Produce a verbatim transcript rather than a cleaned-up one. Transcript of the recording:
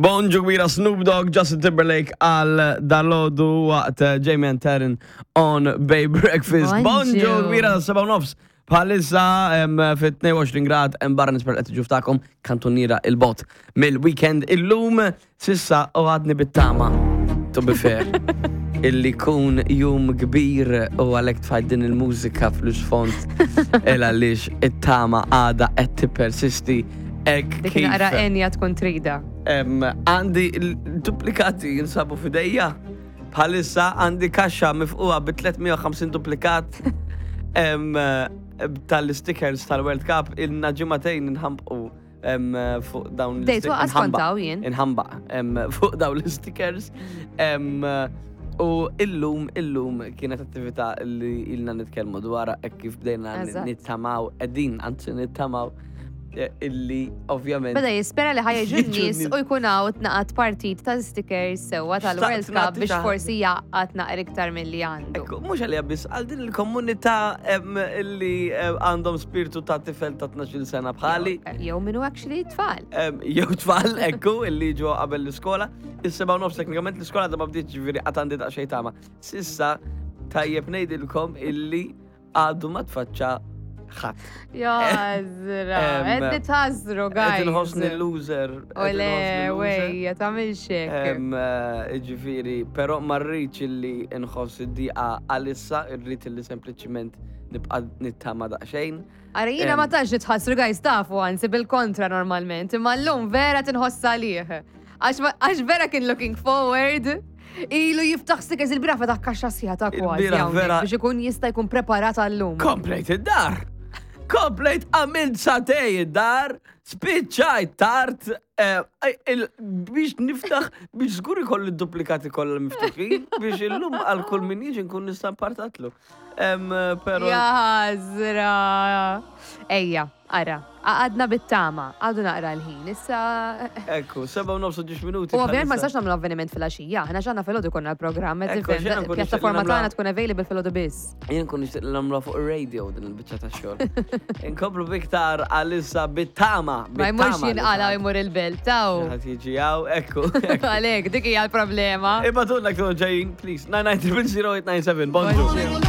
Bonġu kbira, Snoop Dogg, Justin Timberlake għal dalgħodu waqt eh, Jamie and Taryn on Bay Breakfast. Bonġu. Bonġu kbira, seba' u nofs. Bħalissa em, fit tnejn u għoxrin grad hemm barra. Nispera qed tiġu ftakom kantuniera il-bot mill-weekend illum sissa u għadni bit-tama, to be fair, illi kun jum kbir u għalhekk tfajt din il-mużika fl-isfond il għaliex it-tama għada qed tippersisti hekk Dik kif naqra enja tkun trida. Em, Għandi l-duplikati jinsabu f'idejja. Bħalissa għandi kaxxa mifquha bi tliet mija u ħamsin duplikat em, tal-stickers tal-World Cup. Ilna ġimagħtejn nħambqu em, fuq dawn. Dejt waqas nħambaq. kontaw jien. Inħambaq em, fuq dawn l-stickers. Em, U illum, illum kienet attività li ilna nitkellmu dwarha hekk kif bdejna Eżatt. nittamaw, qegħdin anzi nittamaw eh, illi ovvjament Beda jispera li ħa jiġu Jiġu n-nies n-nies. u jkun hawn tnaqat partit ta' stickers sewwa tal-World Xtaqt Cup nagħti biex xi forsi jaqgħad naqra iktar milli għandu. Ekku, mhux għalija biss, għal din il-komunità em, illi em, għandhom spiritu ta' tifel ta' tnax-il sena bħali, Jew minnu actually tfal. em, jew tfal, ekku, illi ġo qabel l-iskola. Is-seba' u nofs teknikament l-iskola da ma bdietx, ġifieri għad għandi daqsxejn tama. S'issa, tajjeb ngħidilkom illi għadu ma tfaċċa ħadd. Jażra, Em, qed nitħassru, guys. Qed inħossni loser. Qed Ole, inħossni loser. wejja, tagħmilx hekk. Em, eh, Ġifieri, però ma rridx illi nħoss id-diqa għalissa, irrid illi sempliċiment nibqa' nittama daqsxejn. Ara, jiena em, ma tantx nitħassru, guys, tafu, anzi bil-kontra normalment, imma llum vera tinħoss għalih. Għax ma- Għax vera kien looking forward. Ilu jiftaħ stickers, il-bieraħ fetaħ kaxxa sħiħa ta' kważi Il-bieraħ hawnhekk vera- biex ikun jista' jkun preparat għallum. Komplejt id-dar! Komplejt, għamilt sagħtejn id-dar, spiċċajt tard, eh, il- biex niftaħ, biex żgur ikolli duplikati kollha miftuħin, biex illum għal kull min jiġi nkun nista' mpartatlu. Em, Pero Jażra. Ejja, ara, għadna bit-tama, għadu naqra l-ħin. Issa. Ekku, seba' u nofs u ġiex minuti. U ovvjament ma bħalissa. nistax nagħmlu avveniment fil-għaxija, aħna x'għandna filgħodu konna l-programm, qed Ekku, tifhem, xejn nkun pjattaforma nixtieq tagħna tkun available filgħodu biss. Jien kun nixtieq li nagħmluha fuq ir-radio din il-biċċa ta' xogħol. Inkomplu biktar għalissa bit-tama. Ma jmurx Bit-tama li jinqala xi ħadd- jmur il-belt, taw. xi ħadd jiġi hawn, ekku. ekku. Għalek, dik hija l-problema. Ibagħtulna tkunu ġejjin, please. nine nine zero zero eight nine seven. Bonġu. Bonġu.